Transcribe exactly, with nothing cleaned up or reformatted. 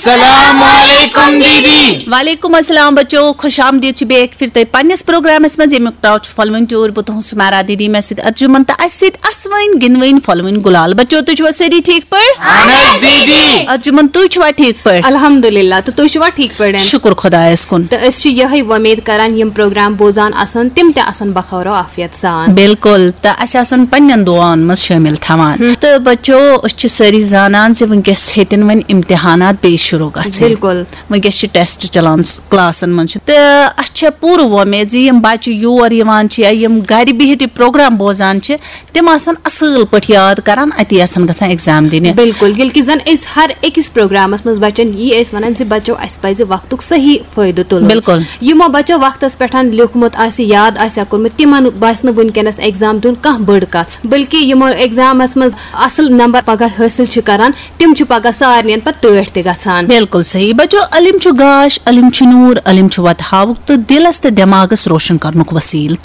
السلام علیکم دیدی۔ وعلیکم السلام بچو، خوش آمدید چھِ بیٚیہِ اَکہِ پھِرِ تۄہہِ پننِس پروگرامس منٛز، ییٚمیُک ناو چھُ فلوٕنۍ ٹیوٗر۔ بہٕ تُہُنٛد سُمیرا دیدی، مےٚ سۭتۍ ارجُمن تہٕ اَسہِ سۭتۍ اَسوٕنۍ گِنٛدوٕنۍ فلوٕنۍ گُلال۔ بچو، تُہۍ چھِوا سٲری ٹھیٖک پٲٹھۍ؟ اہن حظ دیدی۔ ارجُمن، تُہۍ چھِوا ٹھیٖک پٲٹھۍ؟ الحمدللہ، تہٕ تُہۍ چھِوا ٹھیٖک پٲٹھۍ؟ شُکُر خۄدایس کُن۔ تہٕ أسۍ چھِ یِہے وۄمید کران، یِم پروگرام بوزان آسن، تِم تہِ آسن بخیر و عافیت سان۔ بِلکُل، تہٕ اَسہِ آسن پننٮ۪ن دُعاہن منٛز شٲمِل تھاوان۔ تہٕ بچو، أسۍ چھِ سٲری زانان زِ وٕنکیٚس ہیٚتِن وۄنۍ امتحانات بیٚیہِ شروع گژھٕنۍ۔ بِلکُل۔ وٕنکیٚس چھِ ٹیسٹ چلان کلاسن منٛز چھِ، تہٕ اَسہِ چھےٚ پوٗرٕ وۄمید زِ یِم بچہِ یور یِوان چھِ یا یِم گرِ بِہِتھ یہِ پروگرام بوزان چھِ، تِم آسن اصل پٲٹھۍ یاد کران، اتی آسن گژھان ایگزام دِنہِ۔ بِلکُل، ییٚلہِ کہِ زن أسۍ ہر أکِس پروگرامس منٛز بچن یی ٲسۍ ونان زِ بچو، اسہِ پزِ وقتُک صحیح فٲیدٕ تُلُن۔ بِلکُل۔ یِمو بچو وقتس پٮ۪ٹھ لیوٗکھمُت آسہِ، یاد آسہِ ہا کوٚرمُت، تِمن باسہِ نہٕ وٕنکیٚنس ایگزام دیُن کانٛہہ بٔڑ کتھ، بلکہِ یِمو ایگزامس منٛز اصل نمبر پگاہ حٲصِل چھِ کران، تِم چھِ پگاہ سارنٕین پتہٕ ٹٲٹھۍ تہِ گژھان۔ بِلکُل صحیح۔ بچو، علم چھُ گاش، علم چھُ نوٗر، علم چھُ وتہٕ ہاوُک تہٕ دِلس تہٕ دٮ۪ماغس روشن کرنُک وسیٖلہٕ۔